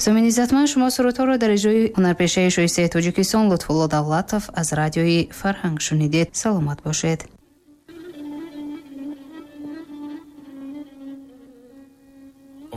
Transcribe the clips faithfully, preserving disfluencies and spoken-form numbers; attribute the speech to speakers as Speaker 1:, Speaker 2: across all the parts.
Speaker 1: Сомини иззатманд, шумо сурудҳоро дар иҷрои ҳунарпешаи шоистаи Тоҷикистон Лутфулло Давлатов аз радиои Фарҳанг шунидед. Саломат бошед.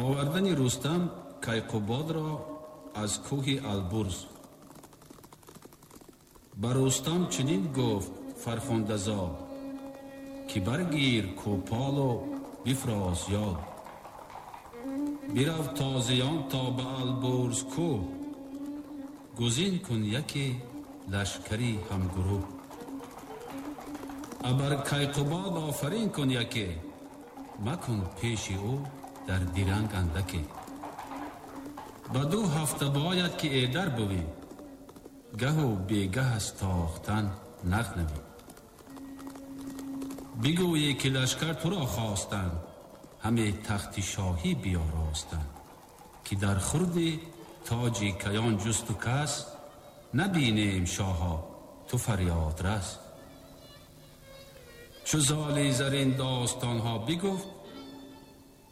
Speaker 2: Овардани Рустам Кайқубодро аз кӯҳи Албурз. Ба Рустам чунин гуфт Фархундазод, ки баргир кӯполу бифроз ёд. Бирав тозиён то ба Албурз кӯҳ, гузин кун яке лашкари ҳамгурӯҳ. Абар Кайқубод офарин кун яке, макун пеши ӯ дар диранг андаке. Ба ду ҳафта бояд ки эдар бувӣ, гаҳу бегаҳ аз тохтан нағнавӣ. Бигӯӣ ки лашкар туро хостанд, ҳаме тахти шоҳӣ биёростанд, ки дар хурди тоҷи каён ҷусту кас, набинем шоҳо ту фарёд рас. Чу золи зарин достонҳо бигуфт,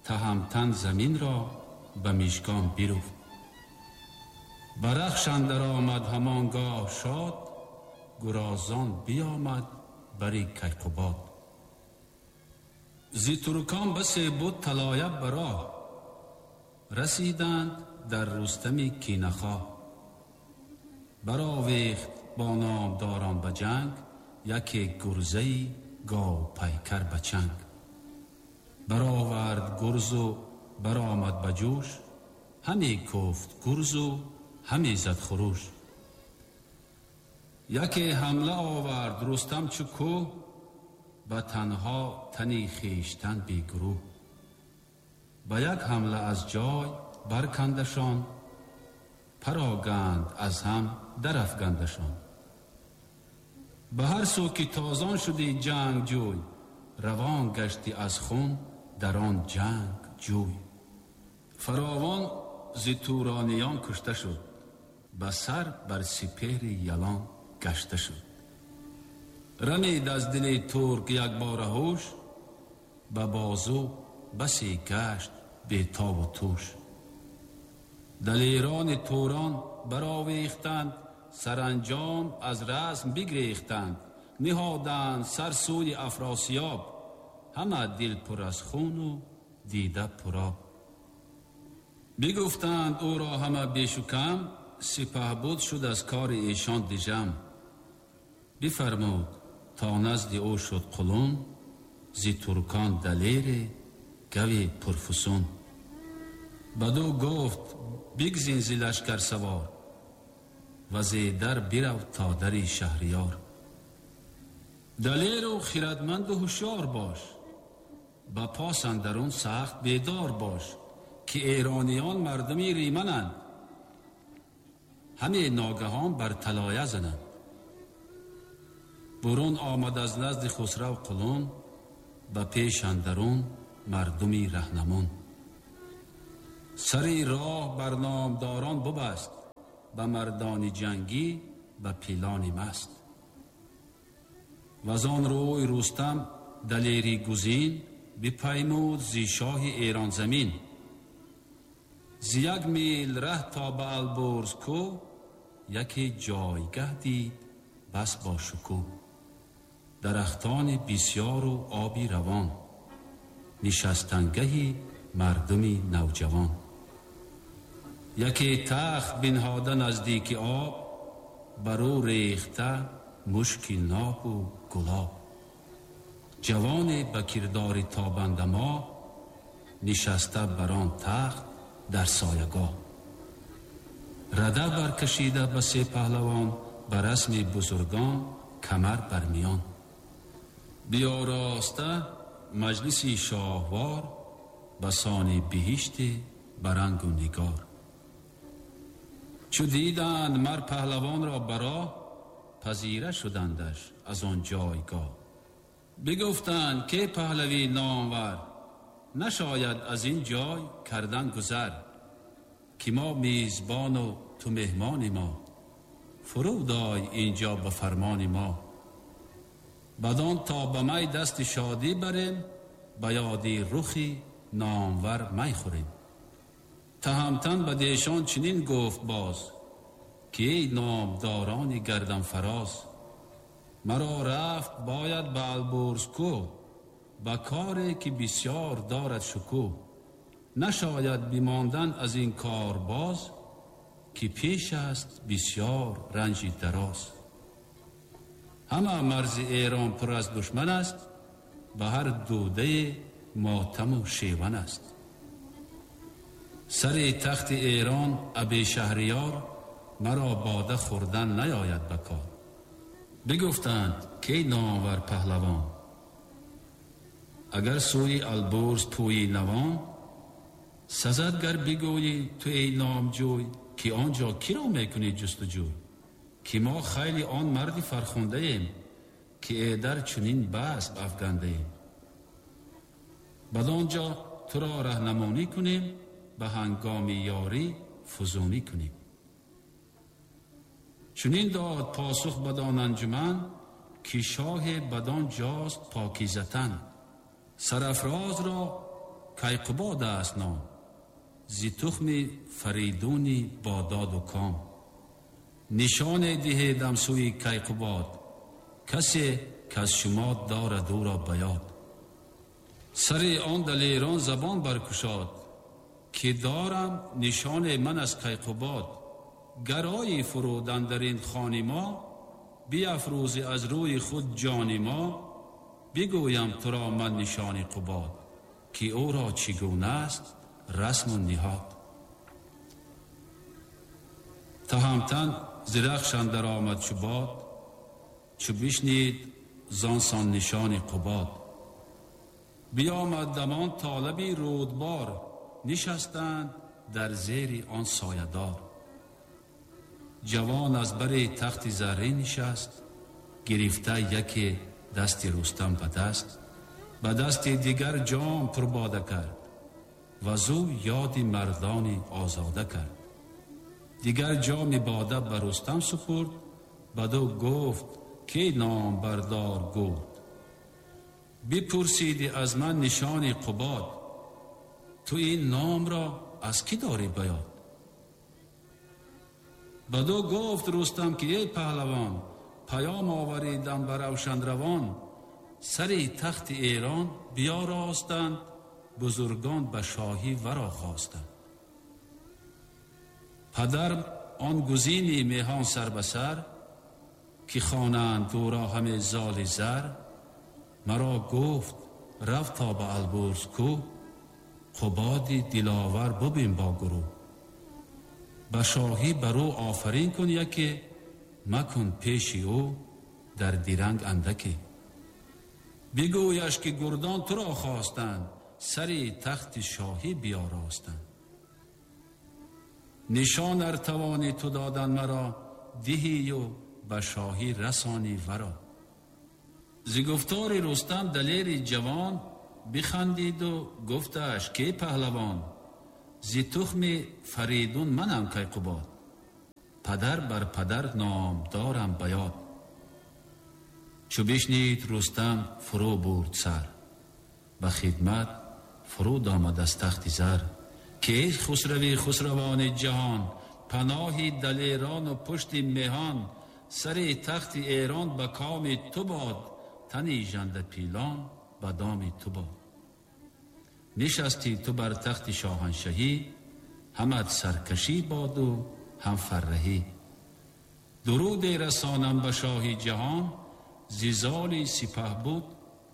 Speaker 2: таҳамтан заминро ба мишкон бируфт. Ба рахш андар омад ҳамон гоҳ шод, гурозон биомад бари Кайқубод. Зи туркон басе буд талоя ба роҳ, расиданд дар Рустами кинахоҳ. Баровехт бо номдорон ба ҷанг, яке гурзаи говпайкар ба чанг. Баровард гурзу баромад ба ҷӯш, ҳаме куфт гурзу ҳаме зад хуруш. Яке ҳамла овард Рустам чу кӯҳ, ба танҳо тани хештан бегурӯҳ. Ба як ҳамла аз ҷой баркандашон, пароганд аз ҳам дарафгандашон. Ба ҳар сӯ ки тозон шуди ҷангҷӯй, равон гашти аз хун дар он ҷанг ҷӯй. Фаровон зи турониён кушта шуд, ба сар бар сипеҳри ялон гашта шуд. Рамид аз дили турк якбора ҳуш, ба бозу басе гашт бетобу туш. Далерони турон баровехтанд, саранҷом аз расм бигрехтанд. Ниҳоданд сар сӯи Афросиёб, ҳама дил пур аз хуну дида пуроб. Бигуфтанд ӯро ҳама бешу кам, сипаҳбуд шуд аз кори эшон дижам. Бифармуд то назди ӯ шуд қулун, зи туркон далере гави пурфусун. Баду гуфт бигзин зи лашкар савор, ва зи дар бирав то дари шаҳриёр. Далеру хирадманду ҳушёр бош, ба пос андарун сахт бедор бош, ки эрониён мардуми римананд, ҳаме ногаҳон бар талоя зананд. Бурун омад аз назди Хусрав қулун, ба пеш андарун мардуми раҳнамун. Сари роҳ бар номдорон бубаст, ба мардони ҷангӣ ба пилони маст. Вазон рӯй Рустам далери гузин, бипаймуд зи шоҳи Эронзамин. Зи як мил раҳ то ба Албурз кӯҳ, яке ҷойгаҳ дид бас бо шукӯҳ. Дарахтони бисёру оби равон, нишастангаҳи мардуми навҷавон. Яке тахт бинҳода наздики об, бар ӯ рехта мушки нобу гулоб. Ҷавоне ба кирдори тобанда моҳ, нишаста бар он тахт дар соягоҳ. Рада баркашида ба се паҳлавон, ба расми бузургон камар бар миён. Биёроста маҷлиси шоҳвор, ба сони биҳишти барангу нигор. Чу диданд мар паҳлавонро ба роҳ, пазира шудандаш аз он ҷойгоҳ. Бигуфтанд ке паҳлавӣ номвар, нашояд аз ин ҷой кардан гузар, ки мо мизбону ту меҳмони мо, фуруд ой инҷо ба фармони мо. Бадон то ба май дасти шодӣ барем, ба ёди рухи номвар май хӯрем. Таҳамтан ба дешон чунин гуфт боз, ки эй номдорони гарданфароз, маро рафт бояд ба Албурз кӯ, ба коре ки бисёр дорад шукӯҳ. Нашояд бимондан аз ин кор боз, ки пеш аст бисёр ранҷи дароз. Ҳама марзи Эрон пур аз душман аст, ба ҳар дудае мотаму шеван аст. Сари тахти Эрон аби Шаҳриёр, маро бода хӯрдан наёяд ба кор. Бигуфтанд ки номвар паҳлавон, агар сӯи Албурз пӯйи навон, сазад гар бигӯӣ ту эй номҷӯй, ки он ҷо киро мекунӣ ҷустуҷӯй? Ки мо хайли он марди фархундаем, ки эдар чунин баст афгандаем. Бадон ҷо туро раҳнамонӣ кунем, ба ҳангоми ёрӣ фузунӣ кунем. Чунин дод посух бадон анҷуман, ки шоҳе бадон ҷост покизатан. Сарафрозро Кайқубод аст ном, зи тухми Фаридуни бододу ком. Нишоне диҳедам сӯи Кайқубод, касе каз шумо дорад ӯро ба ёд. Сари он далерон забон баркушод, ки дорам нишоне ман аз Кайқубод. Гарои фурудан дар ин хони мо, биафрӯзи аз рӯи худ ҷони мо. Бигӯям туро ман нишони Қубод, ки ӯро чӣ гуна аст расму ниҳод. Таҳамтан зи рахш андар омад чу бод, чу бишнид зон сон нишони Қубод. Биомад дамон толиби рӯдбор, нишастанд дар зери он соядор. Ҷавон аз бари тахти заррин нишаст, гирифта яке дасти Рустам ба даст, ба дасти дигар ҷом пурбода кард, ва зӯ ёди мардони озода кард. Дигар ҷоми бода ба Рустам супурд, баду гуфт ки ном бардор гурд. Бипурсиди аз ман нишони Қубод, ту ин номро аз кӣ дорӣ ба ёд? Баду гуфт Рустам ки эй паҳлавон, паём оваридам ба равшанравон. Сари тахти Эрон биёростанд, бузургон ба шоҳӣ варо хостанд. Падар он гузини меҳон сар ба сар, ки хонанд ӯро ҳаме золи зар. Маро гуфт рафт то ба Албурз кӯ, Қубоди диловар бубин бо гурӯҳ. Ба шоҳӣ бар ӯ офарин кун яке, макун пеши ӯ дар диранг андаке. Бигӯяш ки гурдон туро хостанд, сари тахти шоҳӣ биёростанд. Нишон ар тавонӣ ту додан маро, диҳию ба шоҳӣ расонӣ варо. Зи гуфтори Рустам далери ҷавон, бихандиду гуфташ ки паҳлавон, зи тухми Фаридун манам Кайқубод, падар бар падар ном дорам ба ёд. Чу бишнид Рустам фурӯ бурд сар, ба хидмат фуруд омад аз тахти зар. Ки эй хусрави хусравони ҷаҳон, паноҳи далерону пушти меҳон, сари тахти Эрон ба коми ту бод, тани жандапилон ба доми ту бод. Нишастӣ ту бар тахти шоҳаншаҳӣ, ҳамат саркашӣ боду ҳам фарраҳӣ. Дуруде расонам ба шоҳи ҷаҳон, зи золи сипаҳ буд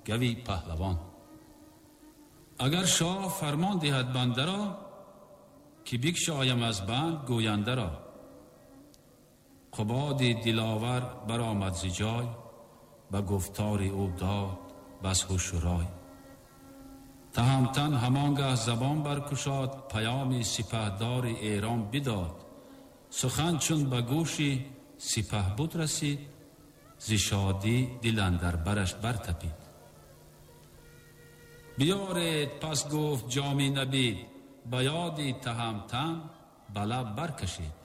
Speaker 2: гави паҳлавон. Агар шоҳ фармон диҳад бандаро, ки бикшоям аз банд гӯяндаро. Қубоди диловар баромад зи ҷой, ба гуфтори ӯ дод бас ҳушу рой. Таҳамтан ҳамон гаҳ забон баркушод, паёми сипаҳдори Эрон бидод. Сухан чун ба гӯши сипаҳбуд расид, зи шодӣ дил андар бараш бартапид. Биёред пас гуфт ҷоми набид, ба ёди Таҳамтан ба лаб баркашид.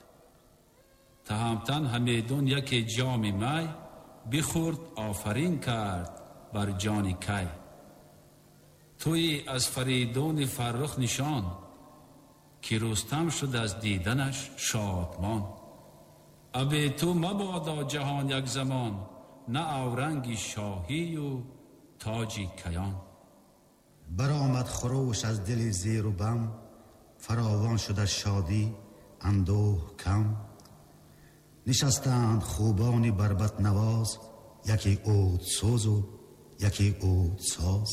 Speaker 2: Таҳамтан ҳамедун яке ҷоми май, бихӯрд офарин кард бар ҷони кай. Туи аз Фаридуни фаррух нишон, ки Рустам шуд аз диданаш шодмон. Абе ту мабодо ҷаҳон як замон, на авранги шоҳию тоҷи каён.
Speaker 3: Баромад хурӯш аз дили зеру бам, фаровон шуд аз шодӣ андӯҳ кам. Нишастанд хубони барбатнавоз, яке удсӯзу яке удсоз.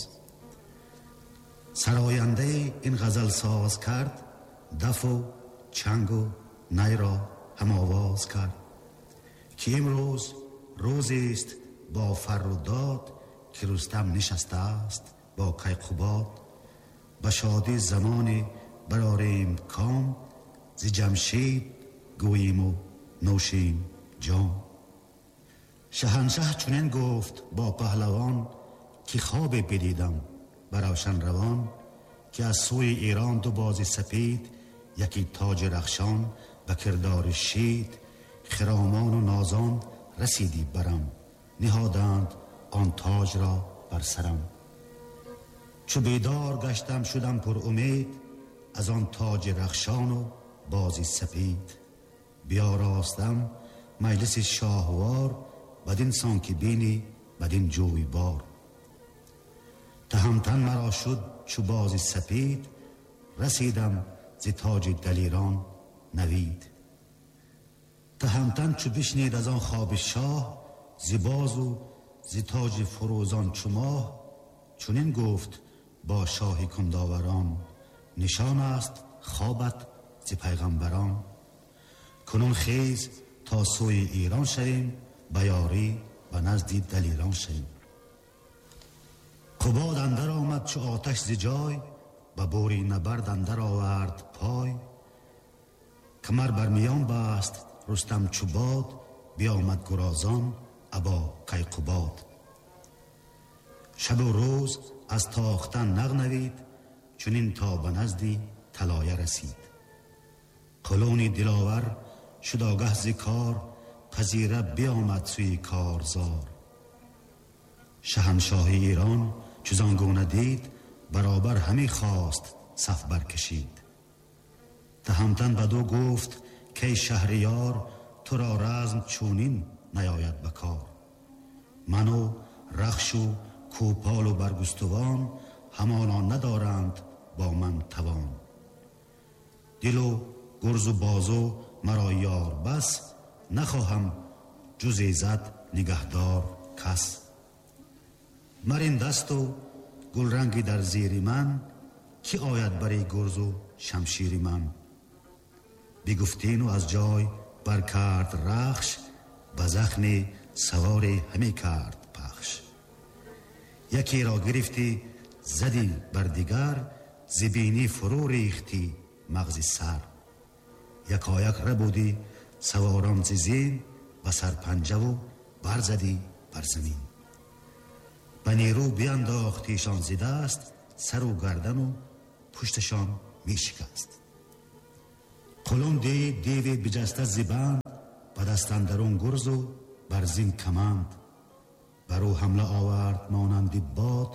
Speaker 3: Сарояндаи ин ғазалсоз кард, дафу чангу найро ҳамовоз кард, ки имрӯз рӯзест бо фарру дод, ки Рустам нишастааст бо Кайқубод. Ба шодӣ замоне барорем ком, зи Ҷамшид гӯему нӯшем ҷом. Шаҳаншаҳ чунин гуфт бо паҳлавон, ки хобе бидидам ба равшан равон, ки аз сӯи Эрон ду бози сапед, яке тоҷи рахшон ба кирдори шид, хиромону нозон расидӣ барам, ниҳоданд он тоҷро бар сарам. Чу бедор гаштам шудам пур умед, аз он тоҷи рахшону бози сапед. Биёростам маҷлиси шоҳвор, бадин сон ки бинӣ бадин ҷӯйбор. Таҳамтан маро шуд чу бози сапед, расидам зи тоҷи далерон навид. Таҳамтан чу бишнид аз он хоби шоҳ, зи бозу зи тоҷи фурӯзон чу моҳ, чунин гуфт бо шоҳи кундоварон, нишон аст хобат зи пайғамбарон. Кунун хез то сӯи Эрон шавем, ба ёрӣ ба назди далерон шавем. Қубод андар омад чу оташ зи ҷой, ба бори набард андар овард пой. Камар бар миён баст Рустам чу бод, биомад гурозон або Кайқубод. Шабу рӯз аз тохтан нағнавид, чунин то ба назди талоя расид. Қулуни диловар шуд огаҳ зи кор, пазира биомад сӯи корзор. Шаҳаншоҳи Эрон чу зон гуна дид, баробар ҳаме хост саф баркашид. Таҳамтан бадӯ гуфт кай шаҳриёр, туро разм чунин наёяд ба кор. Ману рахшу кӯполу баргустувон, ҳамоно надоранд бо ман тавон. Дилу гурзу бозу маро ёр бас, нахоҳам ҷуз иззат нигаҳдор кас. Мар ин дасту гулранги дар зери ман, ки ояд бари гурзу шамшири ман. Бигуфтину аз ҷой баркард рахш, ба захми саворе ҳаме кард пахш. Якеро гирифтӣ задӣ бар дигар, зи бинӣ фурӯ рехтӣ мағзи сар. Якояк рабудӣ саворон зи зин, ба сарпанҷаву барзадӣ бар замин. Ба нерӯ биандохтишон зи даст, сару гардану пушташон мешикаст. Қулун дид деве биҷаста зи банд, ба даст андарун гурзу бар зин каманд. Бар ӯ ҳамла овард монанди бод,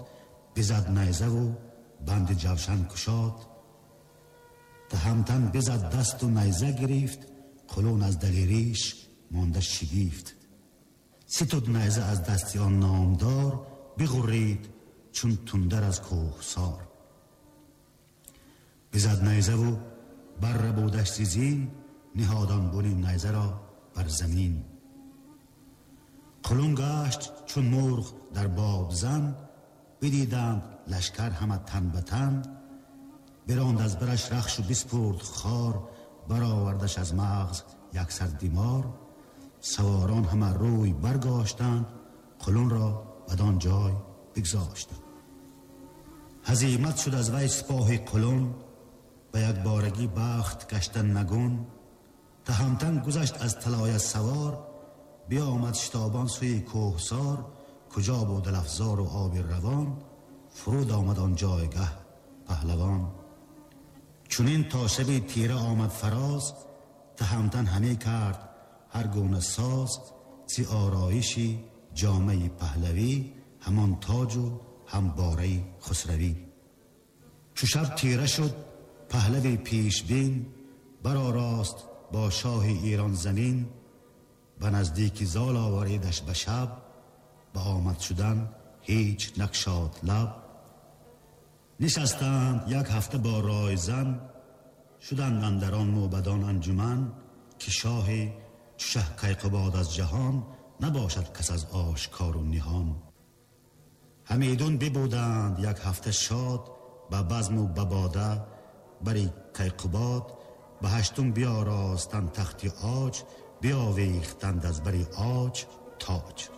Speaker 3: бизад найзаву банди ҷавшан кушод. Таҳамтан бизад дасту найза гирифт, қулун аз далериш монда шигифт. Ситуд найза аз дасти он номдор, бигуррид чун тундар аз кӯҳсор. Бизад найзаву баррабудаш зи зин, ниҳодон буни найзаро бар замин. Қулун гашт чун мурғ дар бобзан, бидиданд лашкар ҳама тан ба тан. Биронд аз бараш рахшу биспурд хор, баровардаш аз мағз яксар димор. Саворон ҳама рӯй баргаштанд, қулунро бадон ҷой бигзоштанд. Ҳазимат шуд аз вай сипоҳи қулун, ба якборагӣ бахт гаштан нагун. Таҳамтан гузашт аз талоя савор, биомад шитобон сӯи кӯҳсор. Куҷо буд алафзору оби равон, фуруд омад он ҷойгаҳ паҳлавон. Чунин то шаби тира омад фароз, таҳамтан ҳаме кард ҳар гуна соз. Зи ороиши ҷомаи паҳлавӣ, ҳамон тоҷу ҳам бораи хусравӣ. Чу шаб тира шуд پهلوی پیش بین، برآراست با شاه ایران زمین. به نزدیک زال آوریدش به شب، به آمد شدن هیچ نگشاد لب. نشستند یک هفته با رایزن، شدند اندر آن موبدان انجمن. که شاه چو شه کیقباد از جهان، نباشد کس از آشکار و نهان. همیدون ببودند یک هفته شاد، به بزم و به باده بری کیقباد. به هشتم بیاراستند تخت عاج، بیاویختند از بری عاج تاج.